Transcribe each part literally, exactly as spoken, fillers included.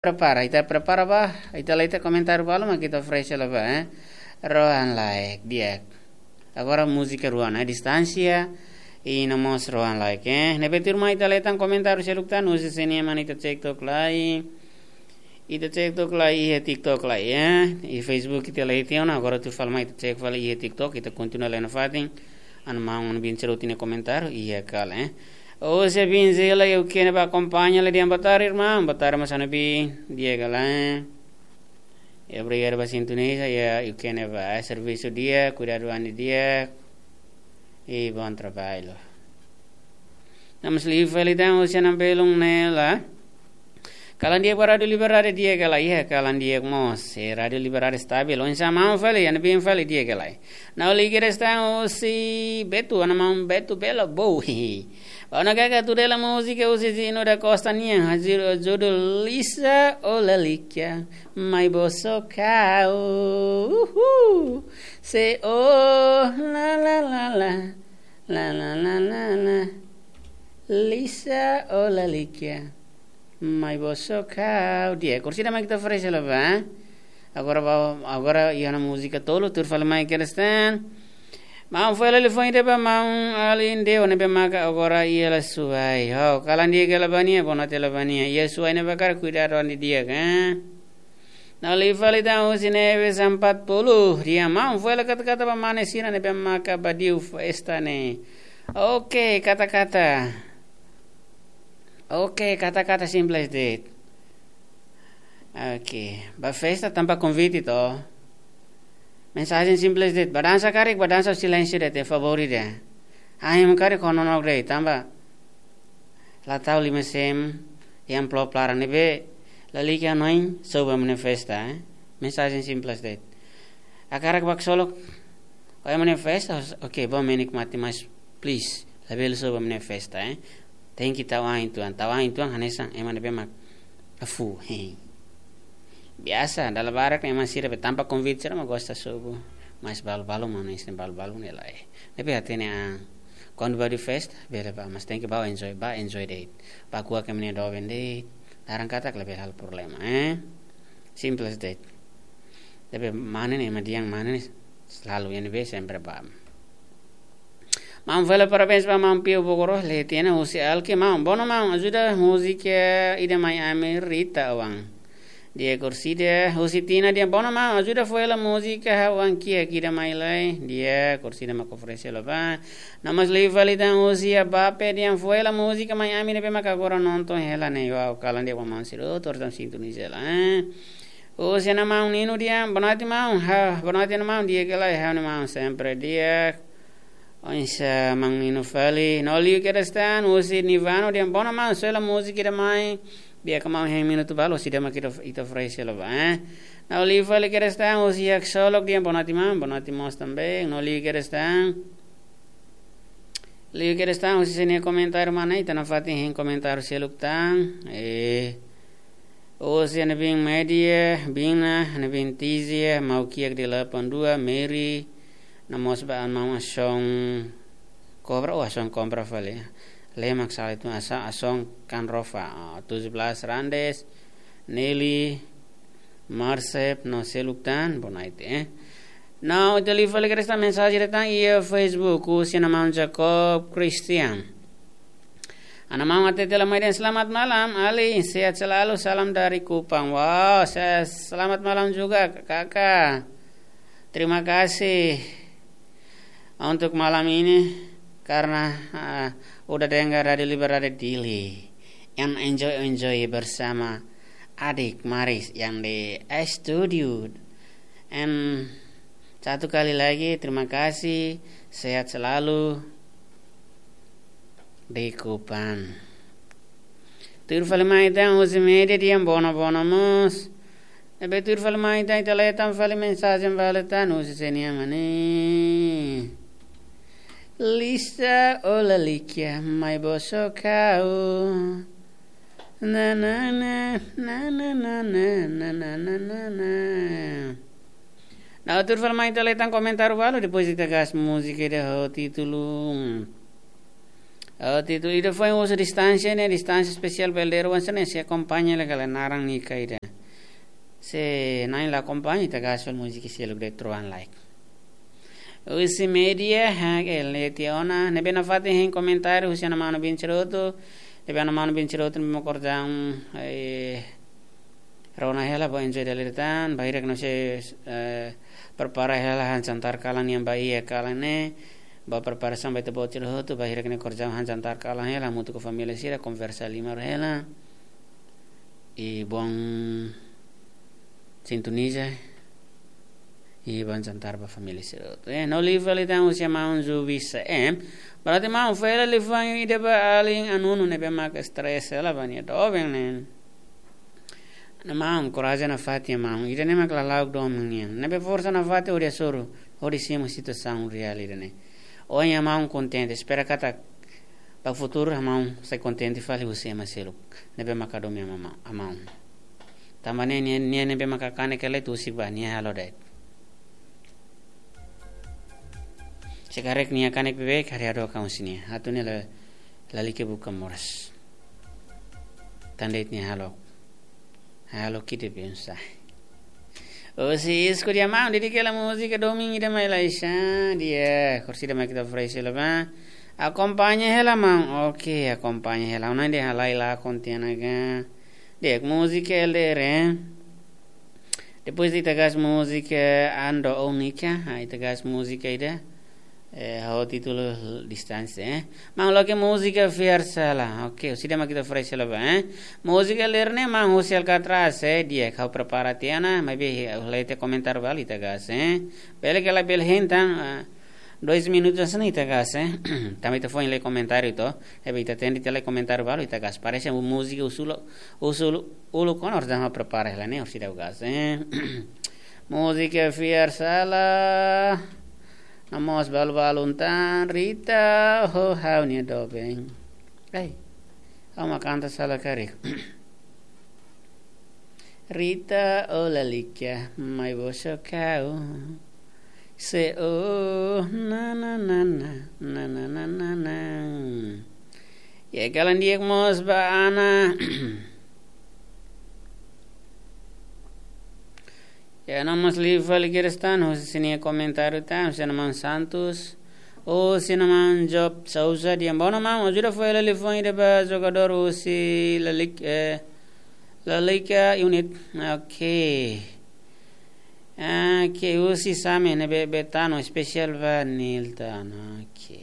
prepara, ita prepara ba, ita la iha komentáriu balu mak ita fresh la ba, eh. Rohan Laek, di'ak. Agora múzika rua ona, Distánsia, i no mós Rohan Laek, eh. Ne'ebé tuirmai ita la iha tan komentáriu seluk tan, husi sé nian mak ita cek tok lai. Ita cek tok lai, iha TikTok lai, eh. I Facebook ita la iha tiha ona, agora tuir fali mai ita cek fali iha TikTok, ita kontinua lai nafatin. Ana maun, ana bin sira hotu nia komentáriu, iha kala, eh. Husi bin Zela, Eukene ba akompaña lai dehan boa tarde, irmaun. Boa tarde, mós ana bin, di'ak ka lae. I obrigadu ba sintoniza, i Eukene ba, eh, servisu di'ak, kuidadu an di'ak. I bom trabalho. No mós liu fali tan husi ana belun Nela. Kalan di'ak ba Rádiu Liberdade, di'ak ka lae, iha kalan di'ak mós. Eh, Rádiu Liberdade stabil. Oinsá maun fali, ana bin fali, di'ak ka lae. No liu kedas tan husi Betu, ana maun Betu Belo, bom. Bom, na kaka tuir hela múzika husi Zino da Costa nian, hasil judul Lisa o Lalikia, mai boso kau. Uhul. Se o la la la la, la la la la la. Lisa o Lalikia, mai boso kau. Di'ak, kursida mak ita fresh la ba. Agora ba, agora iha ona múzika tolu, tuir fali mai kedas tan. Maun fali liafuan ida ba maun alin de, ne'ebé maka agora iha la suai. Ho, kalan di'ak ka lae ba nia, bonote la ba nia. Iha suai ne'ebé karik kuidadu an di'ak, eh. No liu fali tan husi Neves empat puluh. Dehan maun fali kata-kata ba mane sira ne'ebé maka badiu festa ne'e. Oke, kata-kata. Oke, kata-kata simples de'it. Oke, ba festa tanpa konvite to. Mensajen simples de'it, ba dansa karik, ba dansa silénsiu de'it, favór ida. Ai, ema karik ho nonook de'it, tanba la tau lima sen iha amplop laran ne'ebé lalika noin, soba ema nia festa, eh. Mensajen simples de'it. Hakarak ba ksolok, o ema nia festa, oke, bom, menikmati, mas please, labele soba ema nia festa, eh. Tenke tau an uitoan, tau an uitoan hanesan ema ne'ebé mak afu, hehe. Biasa, dala barak ne'e ema sira be tanpa konvite sira mak gosta sobu. Mas balu-balu mak ne'e, balu-balu ne'e lae. Ne'ebé hatene an, kuandu badiu festa, bele ba, mas tenke ba enjoy, ba enjoy de'it. Ba kuak ema nia doben de'it, laran katak labele halo problema, eh. Simples de'it. Tapi mane ne'e, ema dehan mane ne'e selalu, iha ne'ebé sempre ba. Maun fali parabéns ba maun Pio Bogoro, le tiene husi Alki, maun. Bom, maun, ajuda múzika ida mai ami, Rita Awang. Di'ak, kursida husi Tina dehan, bom, maun, ajuda fó hela múzika Awang kiak ida mai lai. Di'ak, kursida mak oferese la ba. No mós liu fali tan husi Abape dehan, fó hela múzika mai ami ne'ebé maka agora nonton hela ne'e. Wow, kalan di'ak ba maun sira hotu tan sintoniza lai, eh. Husi ana maun Nino dehan, bonoite maun, ha, bonoite ana maun, di'ak ka lae, ha'u-nia maun sempre di'ak. Oinsá maun Nino fali. No liu kedas tan husi Nivano dehan, bom, maun, soe hela múzika ida mai. Di'ak ka maun, hein minutu balu, husi ida mak ita, ita fresh la ba, eh. No liu fali kedas tan husi Yak Solok dehan, bonoite maun, bonoite mós também. No liu kedas tan. Liu kedas tan husi sé nia komentáriu, mana ita nafatin hein komentáriu seluk tan. Eh, husi ana bin Media, Bina, ana bin Tizia, mau kiak delapan dua, Mary, no mós ba ana maun Ason Kobra, oh, Ason Kobra fali. Lemak sala itu asa, Ason Kanrofa, oh, tujuh belas Randes, Nelly, Marsep, no seluk tan, bonoite, eh. No, ita liu fali kedas tan mensajen ida tan iha Facebook, husi ana maun Jacob Christian. Ana maun hatete la mai dehan, selamat malam, Ali, sehat selalu, salam dari Kupang. Wow, se-, selamat malam juga, Kakak. Terima kasih untuk malam ini karena, ah, udah dengar Radio Libertad Dili. Yang enjoy-enjoy bersama adik Maris yang di studio. And satu kali lagi, terima kasih, sehat selalu di Kupang. Tuir fali mai tan husi Media dehan, bom, bom mós. Ne'ebé tuir fali mai tan, ita lee tan fali mensajen balu tan husi sé nian mak ne'e. Lisa o Lalikia, mai boso kau. Na, na, na. No tuir fali mai ita lee tan komentáriu balu, depois ita gas múzika ida ho títulu Oh, titu ida foin husu distánsia ne'e, distánsia espesiál ba L D R oan sira-ne'e, sei akompaña hela ka lae, naran nia ka ida. Se na'in la akompaña, ita gás fali múzika seluk de'it troan like. Husi média, ha, ke leti ona, ne'ebé nafatin hein komentáriu, husi Ana Manu Bin Ceroto, ne'ebé Ana Manu Bin Ceroto, ne'ebé mak kordau, eh, rona hela, bá enjoy dala ida tan, bainhira ne'e sei, eh, prepara hela han jantar kalan nian ba iha kalan ne'e, bá preparasaun ba ita-boot sira hotu, bainhira ne'e kordau han jantar kalan hela, hamutuk ho família sira, konversa liman hela. I bom sintoniza, i bom jantar ba família sira hotu. Eh, no liu fali tan husi maun Zubisa. Eh, berarti maun fali liu fali ida ba alin Anunu ne'ebé mak stress hela ba nia doben ne'e. Ne'e maun, korajen nafatin maun. Ida-ne'e mak lala'ok domin nian. Ne'ebé forsa nafatin hodi hasoru, hodi simu situasaun reál ida-ne'e. Ohin maun kontente, espera katak ba futuru maun sai kontente fali husi ema seluk ne'ebé mak hadomi maun. Tanba ne'e, nia, nia ne'ebé mak kanek hela ita husik ba, nia halo de'it. Se karik nia kanek beibeik, haree hadook husi nia. Atu nia la, lalika buka moras. Tan de'it nia halo. Halo kide pensa. Husi Isku dia maun, dedika hela múzika domin ida mai Laisha. Di'ak, orsida mak ita oferese hela ba. Akompaña hela maun. Oke, akompaña hela. Ona ida halai la kontiana ga. Di'ak, múzika L D R, eh. Depois ita gás múzika Ando Única, ah, ita gás múzika ida, eh, ho títulu Distánsia, eh. Maun, loke múzika Fiar Sala. Oke, orsida mak ita oferese hela ba, eh. Múzika L D R ne'e maun husi Alcatraz, eh, di'ak ha'u prepara tiha ona, maibé, eh, ha'u lee tiha komentáriu balu ita gás, eh. Bele ka lae, bele hein tan, ah, dois minutos hanesan ne'e ita gás, eh. Tanba ita foin lee komentáriu to, ne'ebé ita tende tiha lee komentáriu balu ita gás. Parese múzika husi uluk, husi uluk, uluk ona, orsida ha'u prepara hela ne'e, orsida ha'u gás, eh. Múzika Fiar Sala, no mós balu-balun tan, Rita, ho ha'u-nia doben. Ai, ha'u mak kanta sala karik. Rita, ó lalika, mai bosok ha'u. Se o, na, na, na, na. Ya, kalan di'ak mós ba Ana. Ya, no mós liu fali kedas tan, husi nia komentáriu tan, husi Ana Maun Santos. Husi Ana Maun Job Souza, di'ak ba Ana Maun, ajuda fó hela liafuan ida ba jogadór husi La Liga, eh, La Liga Unit. Oke. Ah, ke husi Same ne'ebé Betano, espesiál ba Nilton. Oke.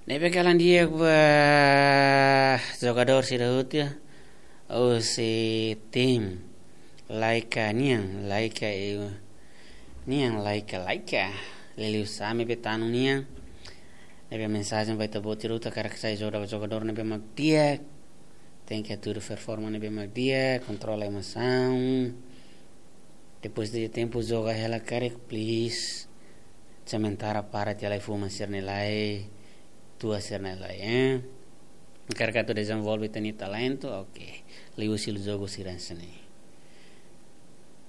Ne'ebé kalan di'ak ba jogadór sira hotu, husi tim Laika nian, Laika e nian, Laika, Laika. Liuliu Same Betano nian. Ne'ebé mensajen ba ita-boot sira hotu, hakarak sai joga-, jogadór ne'ebé mak di'ak. Tenke hatudu performa ne'ebé mak di'ak, kontrola emosaun. Depois de tempu joga hela karik, please. Sementara para tiha lai, fuma sira-ne'e lai, tua sira-ne'e lai, eh. Hakarak atu dezenvolve ita-nia talentu, oke. Liuhusi jogu sira hanesan ne'e.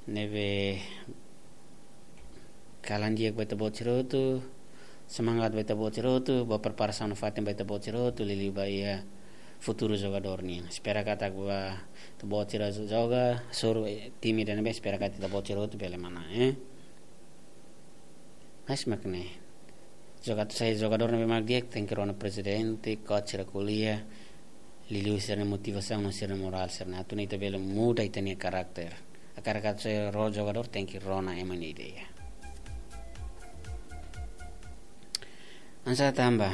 Ne'ebé kalan di'ak ba ita-boot sira hotu, semangat ba ita-boot sira hotu, ba preparasaun nafatin ba ita-boot sira hotu, liuliu ba iha futuru jogadór nian. Espera katak ba ita-boot sira joga, soru, eh, time ida ne'ebé, espera katak ita-boot sira hotu bele manán, eh. Mas mak ne'e. Joga atu sai jogadór ne'ebé mak di'ak, tenke rona prezidente, coach sira ko'alia, liuliu sira-nia motivasaun no sira-nia morál sira-ne'e. Atu nune'e ita bele muda ita-nia karakter. Hakarak atu sai rona jogadór, tenke rona ema nia ideia. Hanesan tanba.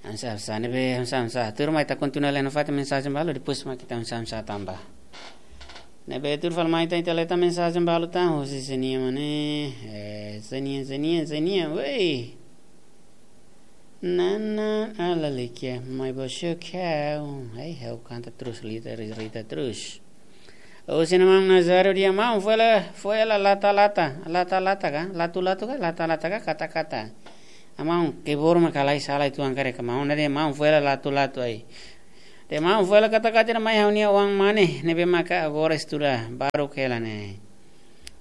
Hanesan, hanesan ne'ebé, hanesan, hanesan. Tuirmai ita kontinua lee nafatin mensajen balu, depois mak ita hanesan, hanesan tanba. Ne'ebé tuir fali mai ita, ita lee tan mensajen balu tan, husi Zenia mane, eh, Zenia, Zenia, Zenia, wei. Nana, ala likia, mai bosok ha'u. Ai, ha'u kanta terus, Rita, Rita terus. Husi Ana Maun Nazário di'ak maun, fó hela, fó hela lata-lata, lata-lata ka, latu-latu ka, lata-lata ka, kata-kata. Maun, keyboard mak halai sala uitoan karik maun, ne'e dehan maun fó hela latu-latu ai. Dehan maun fó hela katak-katak mai ha'u-nia oan mane, ne'ebé maka agora estuda baruk hela ne'e.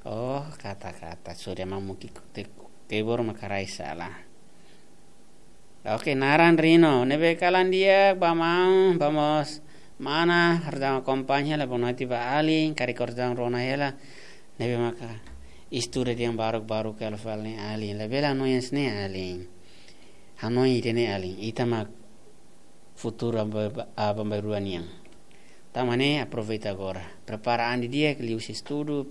Oh, katak-katak, sorry maun, mungkin ke-, keyboard mak halai sala. Oke, naran Rino, ne'ebé kalan di'ak ba maun, ba mós mana, harus akompaña hela, boa noite ba alin, karik harus rona hela, ne'ebé maka estuda dehan baruk-baruk hela fali ne'e alin. Labele hanoin hanesan ne'e alin. Hanoin ida-ne'e alin. Ita mak futuru aban-, aban-bainrua nian. Tanba ne'e aproveita agora. Prepara an didi'ak liuhusi estudu,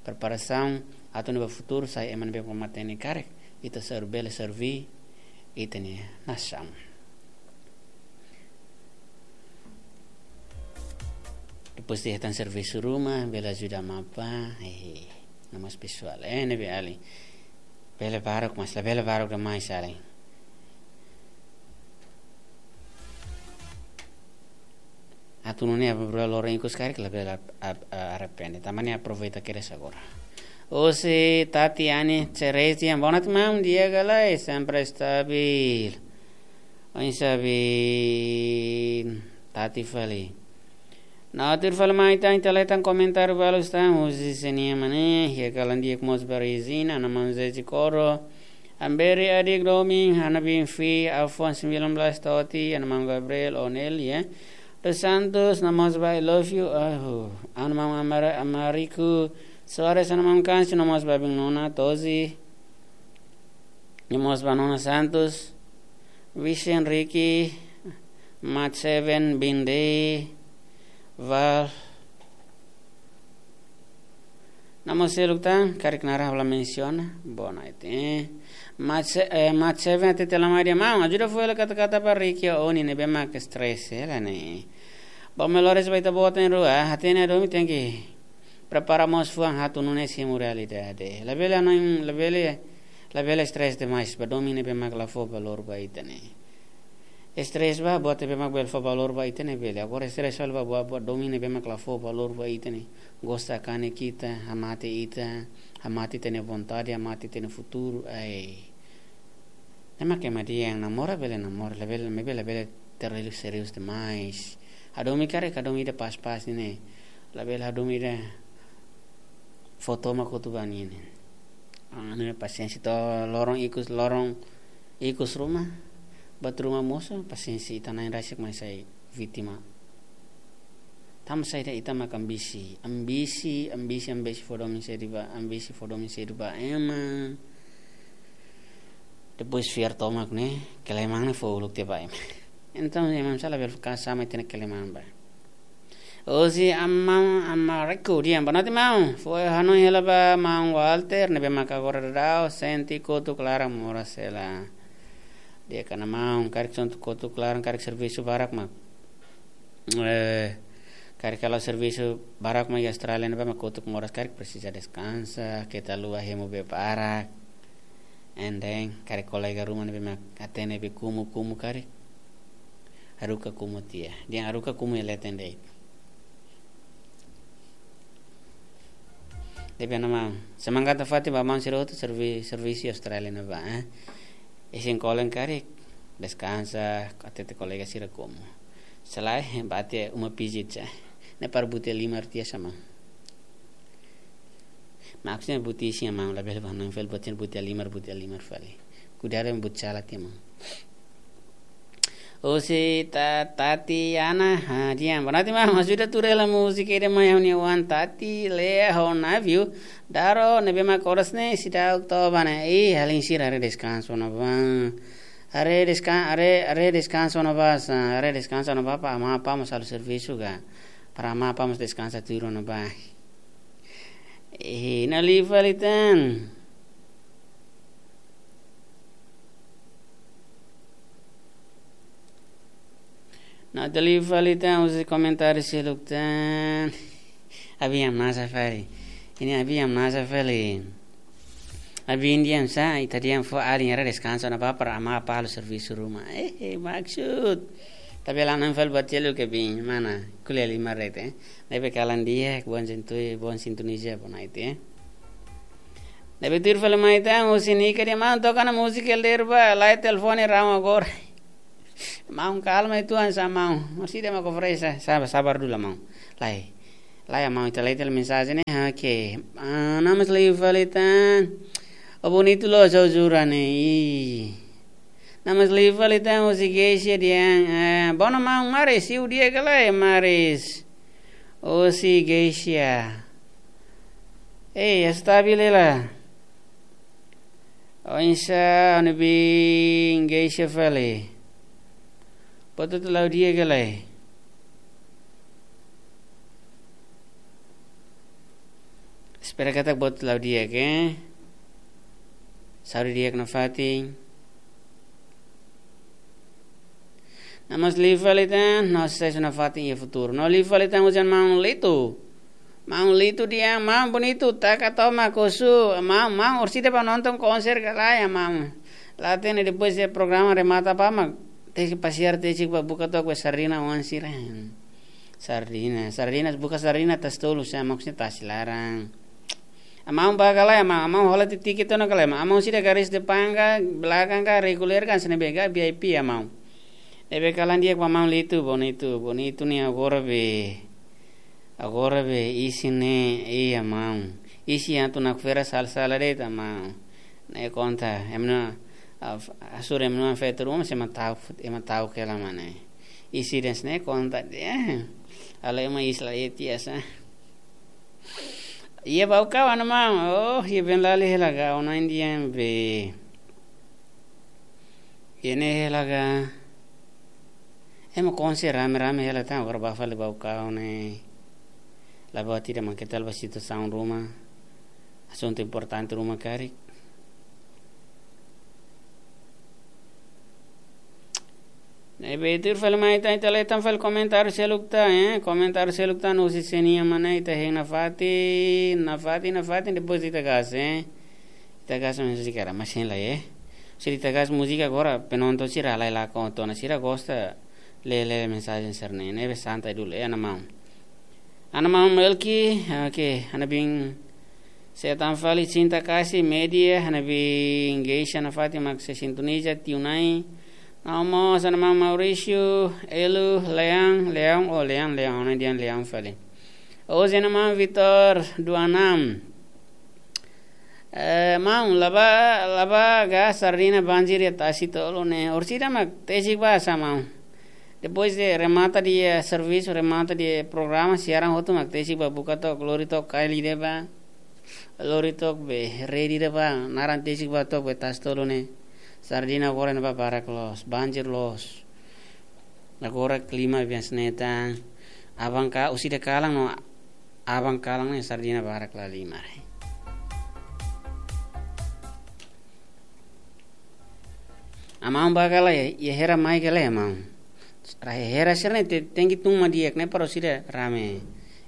preparasaun, atu nune'e ba futuru sai ema ne'ebé matenek karik. Ita ser-, bele serve ita-nia nasaun. Depois de hetan servisu ruma, bele ajuda amá apá, eh, no mós pesoál, eh, ne'ebé alin. Bele baruk, mas labele baruk demais alin. Atu nune'e aban-bainrua loron ikus karik labele ap-, ap-, arrepende. Tanba ne'e aproveita kedas agora. Hosi Tati Ani Cerezi, boa noite maun, di'ak ka lae, sempre stabil. Oinsá be Tati fali. Naotir fali mai tan, ita leten komentáriu balu tan, husi sira-nia mane, iha kalan di'ak mós ba Regina, Ana Manzezi Koro, Amberi Adik Domi, Ana Binfi, Afonso Milan Blas Toti, Ana Maun Gabriel, Onelia, Dos Santos, Ana Mós ba I Love You, ahu, Ana Maun Amara-, Amariku, Soares, Ana Maun Kansi, Ana Mós ba Bin Nona, Tozi, Ana Mós ba Nona Santos, Vision Ricky, Mat Seven, Binde, Val, Namo seluk tan, karik naran ha'u la mensiona, boa noite, eh. Mat Se-, eh, Mat Seven hatete la mai dehan maun, ajuda fó hela katak-katak ba Ricky Oni ne'ebé mak stress hela ne'e. Ba melhores ba ita-boot na'in-rua, hatene hadomi tenke prepara mós fuan atu nune'e simu realidade. Labele hanoin, labele, labele stress demais, ba domin ne'ebé mak la fó valór ba ita ne'e. Stress ba, buat ne'ebé mak bele fó valór ba ita ne'e bele. Agora stress fali ba buat, buat domin ne'ebé mak la fó valór ba ita ne'e. Gosta kanek ita, hamate ita, hamate ita-nia vontade, hamate ita-nia futuru, ai. Ne'e mak ema dehan namora bele namora, labele, maibé labele terlalu serius demais. Hadomi karik, hadomi ida pas-pas ne'e. Labele hadomi ida fó tomak hotu ba nia ne'e. Ah, ne'e pasiénsia to'o loron ikus, loron ikus ruma, buat ruma mosu, pasiénsia ita na'in rasik mai sai vítima. Tanba saida ita mak ambisi, ambisi, ambisi, ambisi fó domin sedu ba, ambisi fó domin sedu ba ema. Depois fiar tomak ne'e, keleman ne'e fó uluk tiha ba ema. Entaun, ema sala bele fó kasa mai tene keleman ba. Hosi Amam Amariku dehan, boa noite maun. Fó hanoin hela ba maun Walter, ne'ebé maka agora daudaun sente kotuk laran moras hela. Di'ak ka lae maun, karik sente kotuk laran, karik servisu barak mak. Eh, karik halo servisu barak mak iha Austrália ne'ebá mak kotuk moras, karik presiza deskansa, keta haluha hemu bee barak. And then, karik kolega ruma ne'ebé mak hatene be kumu-kumu karik, haruka kumu tiha. Dehan haruka kumu iha leten de'it. Dehan Ana Maun, semangat nafatin ba maun sira hotu servi-, servisu Austrália ne'ebá, eh. Isin kolen karik, deskansa, hatete kolega sira kumu. Selae, bá tiha uma pijit sa. Ne'e para buti halimar tiha sa maun. Maksudnya buti isin maun, labele ba hanoin fali buti, buti halimar, buti halimar fali. Kuidadu buti sala tiha maun. Hosi Ta-, Tatiana, ha, dehan, boa noite maun, ajuda tuur hela múzika ida mai ha'u-nia oan Tati, Lea, ho Naviu, Daro, ne'ebé mak oras ne'e, seidauk toba ne'e, ih, alin sira haree deskansa ona bá. Haree deskan-, haree, haree deskansa ona bá, sa, haree deskansa ona bá, para amá apá mós halo servisu ka. Para amá apá mós deskansa tuir ona bá. Eh, na'in-rua fali tan. Na'in-rua fali tan, husi komentáriu seluk tan. Abin hamnasa fali. Ne'e abin hamnasa fali. Abin dehan sá, ita dehan fó alin haree deskansa ona bá para amá apá halo servisu ruma. Eh, eh, maksud. Tapi la nan fali buat seluk ke bin, mana? Ko'alia halimar de'it, eh. Ne'ebé kalan di'ak, boa sintu-, boa sintonia, boa noite, eh. Ne'ebé tuir fali mai tan, husi Nika dehan: "Maun, toka ona múzika ida de'it ba, la'e telefone rame agora." Maun, kalma uitoan sá, maun. Orsida mak oferese, sabar, sabar dulu, maun. La'e. La'e, maun, ita la'e ita mensajen ne'e. Oke. Ah, nama seliu fali tan. Oh, bonitu loos, jujur ne'e. Ih. Nama seliu fali tan, husi Geisha dehan: "Eh, bom, maun, maris, siu di'ak ka lae, maris?" Husi Geisha. Eh, estabil hela. Oinsá, ha'u-nia biin Geisha fali. Buat hotu la'o di'ak ka lae? Espera katak buat hotu la'o di'ak, eh. Saúde di'ak nafatin. Nama seliu fali tan, no susesu nafatin iha futuru. No liu fali tan, husi maun Litu. Maun Litu dehan: "Maun, bonitu, taka tomak husu. Maun, maun, orsida bá nonton konser ka lae, maun?" La'ós ne'e, depois de programa remata bá mak tesi pasiar, tesi bá buka took be sardina oan sira. Sardina, sardina, buka sardina tasi tolu, sá, maksudnya tasi laran. Maun bá ka lae, maun, maun hola tiha tiket ona ka lae, maun, maun sira garis depan ka, belakang ka, reguler ka, hanesan ne'ebé ka, V I P, maun. Ne'ebé kalan di'ak ba maun Litu, bonitu, bonitu ne'e agora be. Agora be isin ne'e, iha maun. Isin atu nakfera sala-sala de'it, maun. Ne'e konta, ema na'in, ah, f-, asur ema na'in feto ruma, se ema ta'uk, ema ta'uk hela mak ne'e. Isin de'it ne'e konta, eh. Halo ema isla eti asa. Iha Baucau, maun. Oh, iha Benlali hela ka, ona Indian be. Iha ne'e hela ka. Ema konser rame-rame hela tan, agora bá fali Baucau ne'e. La buat ida mak keta la ba situasaun ruma. Asuntu importante ruma karik. Ne'ebé tuir fali mai tan, ita la'e tan fali komentáriu seluk tan, eh. Komentáriu seluk tan, husi Senia mana, ita hein nafatin, nafatin, nafatin, depois ita gas, eh. Ita gas múzika, masin la, eh. Se ita gas múzika agora, penonton sira la'e lakon, tona sira gosta lee, lee mensajen sira-ne'e, ne'ebé santai dulu, eh, ana maun. Ana maun Melki, oke, ha'u-nia biin Setan fali, Cinta Kasih Media, ha'u-nia biin Geisha nafatin mak sei sintoniza, tiu Nai. Ha'u mós, ana maun Maurício, Elu, Leão, Leão, oh, Leão, Leão, ha'u-nia biin Leão fali. Ohin ana maun Vitor Duanam. Eh, maun, la bá, la bá gas sardina banjir iha tasi tolu ne'e. Orsida mak tesi bá sá, maun? Depois de remata de'it servisu, remata de'it programa, siaran hotu mak tesi bá buka took, lori took kail ida bá. Lori took be, redi ida bá, naran tesi bá took be tasi tolu ne'e. Sardina agora ne'e bá barak loos, banjir loos. Agora klima biasa ne'e tan. Aban ka, orsida kalan no aban kalan ne'e sardina barak la halimar. Ana maun bá ka lae, iha hera mai ka lae, maun? Rai hera sira-ne'e te-, tenke tun mak di'ak ne'e para orsida rame.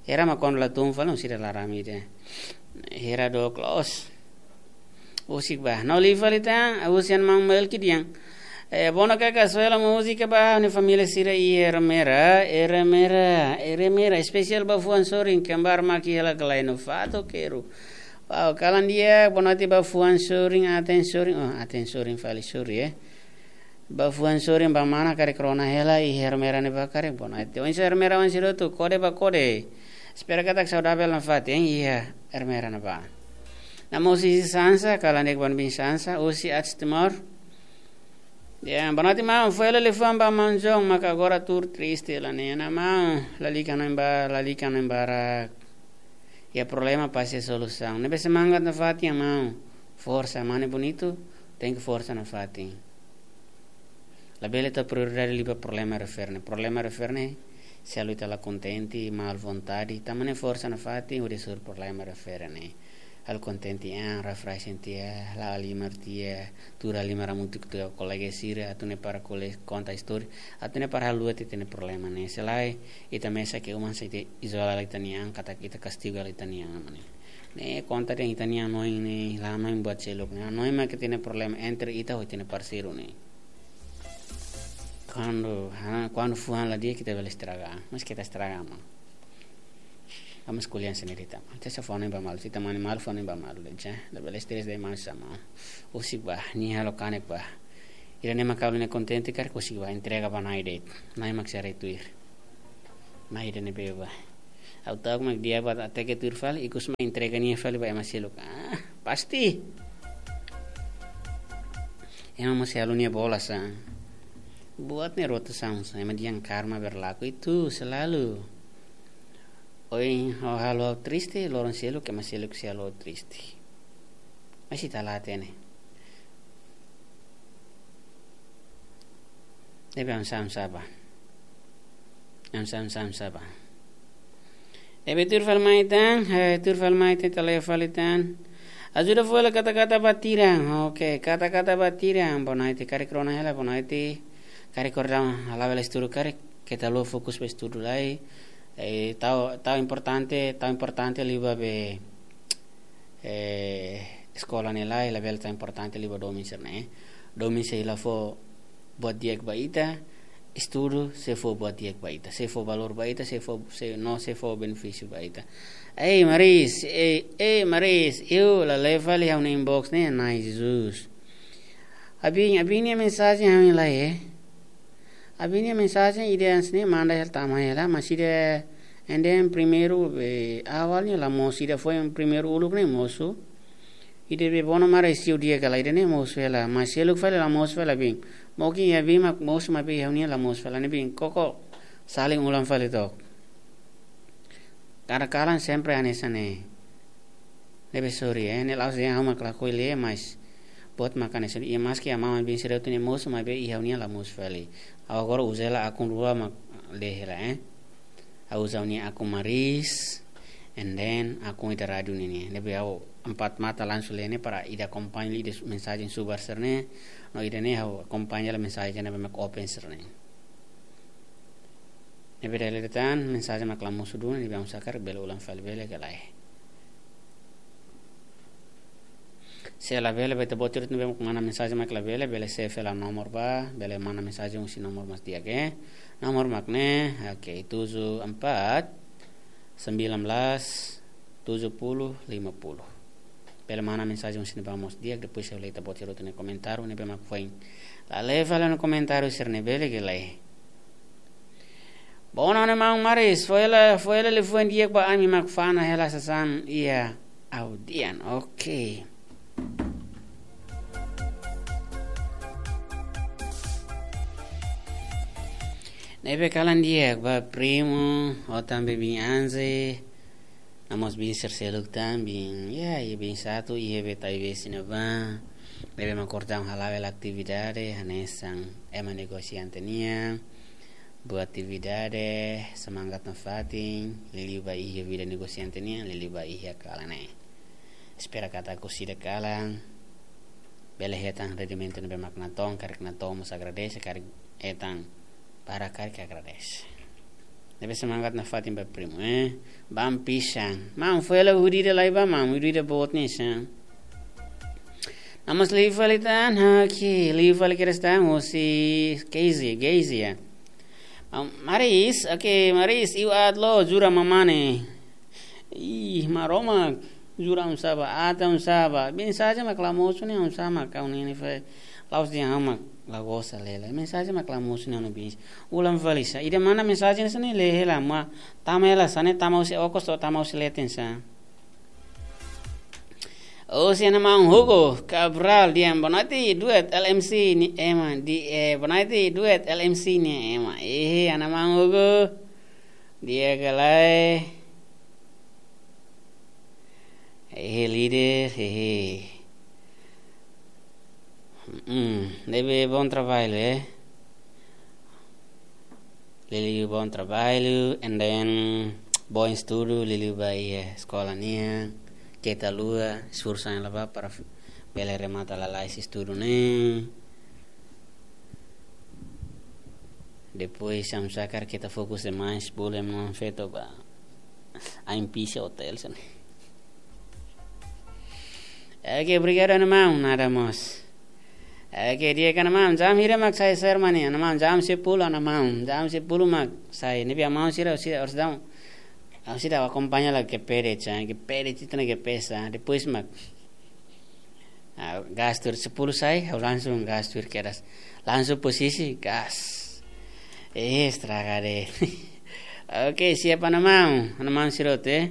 Hera mak kuandu la tun fali orsida la rame ida. Hera dook loos. Husik bá. No liu fali tan, husi ana maun Melki dehan: Eh, bom, karik suela múzika ba ha'u-nia família sira iha Ermera, Ermera, Ermera, espesiál ba fuan sorin, kembar maki hela ka lae no fato quero. Wow, kalan di'ak, boa noite ba fuan sorin, aten sorin, oh, aten sorin fali, sorry, eh. Ba fuan sorin, ba mana karik rona hela iha Ermera ne'ebá karik, boa noite. Oinsá Ermera oan sira hotu, kode ba kode. Espera katak saudavel nafatin iha Ermera ne'ebá. Nama husi Sansa, kalan di'ak ba ha'u-nia biin Sansa, husi Ats Timor. Ya, boa noite maun, foin hela liafuan ba maun John, maka agora tuur triste hela ne'e, ana maun, lalika hanoin ba, lalika hanoin barak. Iha problema pasti iha solusaun. Ne'ebé semangat nafatin, ana maun. Forsa, mane bonitu, tenke forsa nafatin. Labele tau prioridade liu ba problema refere ne'e. Problema refere ne'e, se halo ita la kontente, mal vontade, ita mane forsa nafatin, hodi hasoru problema refere ne'e. Halo kontente an, refresh an tiha, la'o halimar tiha, tuur halimar hamutuk ho kolega sira, atu nune'e para kole-, konta istória, atu nune'e para haluha tiha ita-nia problema ne'e. Se lae, ita mesak iha uma, se ita izola ita-nia an, katak ita kastigu ita-nia an, mane. Ne'e konta de'it ita-nia hanoin ne'e, la hanoin buat seluk ne'e. Hanoin mak ita-nia problema entre ita ho ita-nia parseiru ne'e. Kuandu, ha, kuandu fuan la di'ak ita bele estraga, mas ita estraga, maun. Amas kulian sendiri tama. Te sa fone ba malu, si tamani malu fone ba malu le ja. Labele stress de malu sama. Husik ba, nia halo kanek ba. Ida-ne'e mak halo nia kontente karik husik ba, entrega ba Na'i de'it. Na'i mak sei haree tuir. Na'i ida ne'ebé ba. Ha'u ta'uk mak di'ak ba hateke tuir fali, ikus mak entrega nia fali ba ema seluk. Ah, pasti. Ema mós halo nia bola sa. Buat ne'e rotasaun sa, ema dehan karma berlaku itu selalu. Ohin ha'u halo ha'u triste, loron seluk ema seluk sei halo ha'u triste. Mas ita la hatene. Ne'ebé oinsá, oinsá ba. Oinsá, oinsá, oinsá ba. Ne'ebé tuir fali mai tan, eh, tuir fali mai tan, ita la'o fali tan. Ajuda fó hela kata-kata ba tiran. Oke, kata-kata ba tiran. Bonaiti karik rona hela, Bonaiti karik kordau, hala'o hela estudu karik. Keta haluha fokus ba estudu lai. Eh, tau, tau importante, tau importante liu ba be, eh, eskola ne'e lai, labele tau importante liu ba domin sira-ne'e. Domin sei la fó buat di'ak ba ita, estudu sei fó buat di'ak ba ita, sei fó valór ba ita, sei fó, sei, no sei fó benefísiu ba ita. Ei, Maris, ei, ei, Maris, iu la lee fali ha'u-nia inbox ne'e, Na'i Jesus. Abin, abin nia mensajen ha'u la lee, eh. Abin nia mensajen ida hanesan ne'e manda hela tama hela, mas ida, and then primeiru, eh, awalnya la mosu, ida foin primeiru uluk ne'e mosu. Ida be bono mara isiu di'ak ka lae, ida-ne'e mosu hela, mas seluk fali la mosu fali abin. Mungkin iha abin mak mosu maibé ha'u-nian la mosu fali, ne'ebé koko saling ulang fali to'ok. Kada kalan sempre hanesan ne'e. Ne'ebé sorry, eh, ne'e la'ós dehan ha'u mak lakohi lee, mas buat mak hanesan ne'e, iha maski amá mak bin sira hotu ne'e mosu, maibé iha ha'u-nian la mosu fali. Ha'u agora uza hela akun rua mak lee hela, eh. Ha'u uza ha'u-nia akun Maris, and then akun ida rádiu ne'e. Ne'ebé ha'u empat mata langsung lee ne'e para ida akompaña ida mensajen subar sira-ne'e, no ida-ne'e ha'u akompaña hela mensajen ne'ebé mak open sira-ne'e. Ne'ebé dala ida tan, mensajen mak la mosu duni, ne'ebé oinsá karik bele ulang fali bele ka lae. Se labele ba ita-boot sira hotu ne'ebé mak mana mensajen mak labele, bele save hela nomor ba, bele mana mensajen husi nomor mak di'ak, eh. Nomor mak ne'e, oke, tujuh empat sembilan belas tujuh puluh lima puluh. Bele mana mensajen husi ne'ebá mós di'ak, depois ha'u lee ita-boot sira hotu nia komentáriu, ne'ebé mak foin la lee fali nia komentáriu sira-ne'e bele ka lae. Bona, ha'u-nia maun Maris, fó hela, fó hela liafuan di'ak ba ami mak fa'an hela sasán iha ha'u-nian. Oke. Ne'ebé kalan di'ak ba Primo, ho tanba bin Anze, no mós bin sira seluk tan, bin, ya, iha bin Satu, iha be Taibesi ne'ebá. Ne'ebé mak kordau hala'o hela atividade, hanesan ema negosiante nian. Buat atividade, semangat nafatin, liuliu ba iha vida negosiante nian, liuliu ba iha kalan ne'e. Espera katak orsida kalan bele hetan rendimentu ne'ebé mak natoon, karik natoon mós agradese, karik hetan barak karik agradese. Ne'ebé semangat nafatin ba Primo, eh. Bam pisan. Maun, fó hela hudi ida lai ba, maun, hudi ida boot ne'e sa. No mós liu fali tan, oke, liu fali kedas tan, husi Keizia, Keizia. Maun Maris, oke, Maris, iu aat lo, jura mamane. Ih, Maromak, jura oinsá ba, aat oinsá ba. Mensajen mak la mosu ne'e oinsá mak ha'u-nian ne'e fali. La'ós dehan ha'u mak la gosta lee hela. Mensajen mak la mosu ne'e ha'u-nia bin. Ulang fali sa. Ida mana mensajen sira-ne'e lee hela, maibé tama hela sasán ne'e, tama husi okos to'o tama husi leten sa. Husi ha'u-nia maun Hugo Cabral dehan bonaiti duet L M C nia ema, di, eh, bonaiti duet L M C nia ema. Eh, ha'u-nia maun Hugo. Di'ak ka lae. Eh, líder, eh. Mm, ne'ebé bom trabalho, eh. Liuliu bom trabalho, and then bom estudu, liuliu ba iha eskola nian, keta haluha, esforsu hela ba para f-, bele remata lalais estudu ne'e. Depois, oinsá karik keta fokus demais, bolu ema-nia feto ba ain pise hotel sira-ne'e. Oke, obrigadu, ha'u-nia maun, nada mós. Oke, di'ak, ha'u-nia maun, jam hira mak sai sermon ne'e, ha'u-nia maun, jam sepuluh, ha'u-nia maun, jam sepuluh mak sai, ne'ebé ha'u-nia maun sira, sira harus dam. Ha'u seidauk akompaña la ke pede, chan, ke pede tita na ke pesa. Depois mak, ah, gas tuir sepuluh sai, ha'u langsung gas tuir kedas. Langsung posisi, gas. Eh, estraga de. Oke, siap, mana maun? Mana maun sira hotu, eh?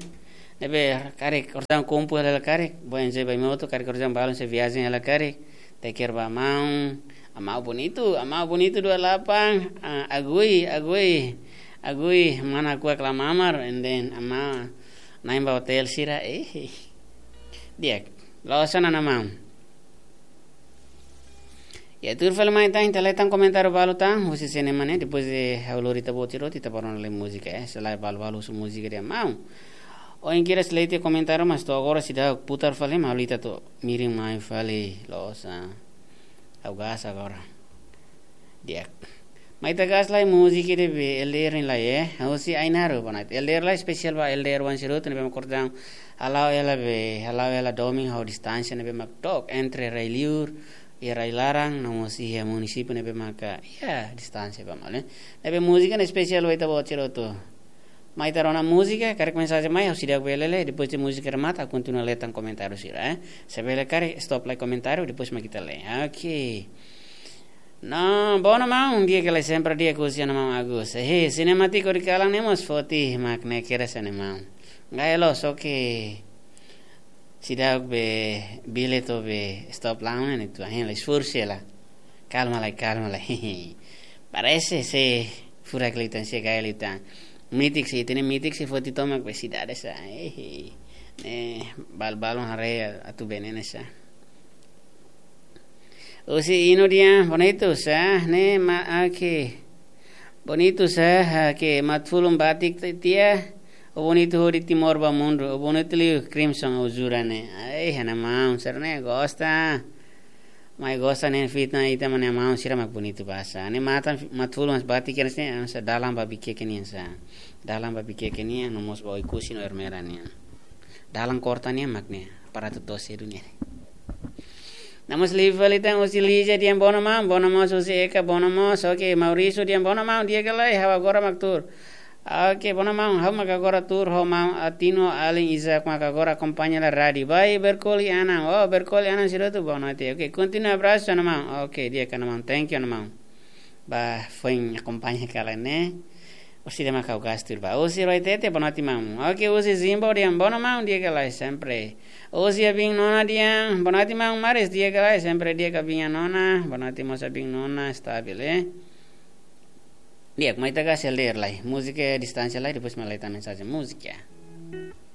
Ne'ebé, karik, kortan kumpu hela karik, boen je bai moto, karik kortan balun se viajen hela karik. Teker ba maun, amau bonitu, amau bonitu dua lapan, ah, agui, agui, agui, mana kuak la mamar, and then amau, nain ba hotel sira, eh, eh. Di'ak, loos ona, mana maun. Ya, tuir fali mai tan, ita lee tan komentáriu balu tan, husi sene mane, depois de ha'u lori ita-boot sira hotu, ita bá rona lee múzika, eh, selae balu-balu husu múzika dehan maun. Ohin kedas lee tiha komentáriu, mas to'o agora seidauk putar fali, mas ha'u lee ita to'o mirin mai fali, loos, ah. Ha'u gas agora. Di'ak. Mai ita gas lai múzika ida be L D R nian lai, eh. Husi Ainaro, boa noite. L D R lai espesiál ba L D R wan sira hotu ne'ebé mak kortan. Hala'o hela be, hala'o hela domin ho distánsia ne'ebé mak took entre rai-liur, iha rai-laran, no mós iha munisípiu ne'ebé maka, iha distánsia ba malu, eh. Ne'ebé múzika ne'e espesiál ba ita-boot sira hotu. Mai ita rona múzika, karik mensajen mai, ha'u seidauk bele lee, depois de múzika remata, ha'u kontinua lee tan komentáriu sira, eh. Se bele karik, stop lai komentáriu, depois mak ita lee. Oke. No, boa, mana maun, di'ak ka lae, sempre di'ak husi mana maun Agus. Eh, sinemátiku di kalan ne'e mós foti, mak ne'e kedas, mana maun. Ngai lo, só ke seidauk be, bele to'o be, stop laun ne'e, tu, ahin la esforsu la. Kalma lai, kalma lai. Parese se furak liután, se gai liután. Mitik se, tene mitik se foti tomak be sidade sa. Eh, eh, bal-balun haree atu be ne'e sa. Husi Ino dehan, bonitu sa, ne'e ma, oke. Bonitu sa, oke, Matfulun batik ti-, tiha. O bonitu hodi Timor ba mundu, o bonitu liu Crimson o jura ne'e. Ai, mana maun, sira ne'e gosta. Mai gosta ne'e fitna ita, mana maun, sira mak bonitu ba sa. Ne'e matan, Matfulun mas batik kedas ne'e, sa dalan ba Viqueque nian sa. Dalan ba Viqueque nian, no mós ba Oekusi no Ermera nian. Dalan korta nian mak ne'e, para tu tosi dunia. No mós liu fali tan husi Lígia dehan boa, mana maun, boa, mana maun, husi Eka, boa, mana maun, oke, Maurício dehan boa, mana maun, di'ak ka lae, ha'u agora mak tuur. Oke, boa, mana maun, ha'u mak agora tuur, ho maun Atino, alin Isaac mak agora akompaña la rádiu. Ba Berkoli Anan, oh, Berkoli Anan sira hotu, boa noite. Oke, kontinua abrasu, mana maun. Oke, di'ak, mana maun, thank you, mana maun. Ba foin akompaña kalan ne'e. Husi de Macau Gastur ba. Husi Roitete, boa noite, maun. Oke, husi Zimbo dehan boa, mana maun, di'ak ka lae, sempre. Husi Abin Nona dehan, boa noite, maun, maris di'ak ka lae, sempre di'ak Abin Nona, boa noite mós Abin Nona, stabil, eh. Di'ak, mai ita gas L D R lai. Múzika distánsia lai, depois mai lee tan mensajen múzika.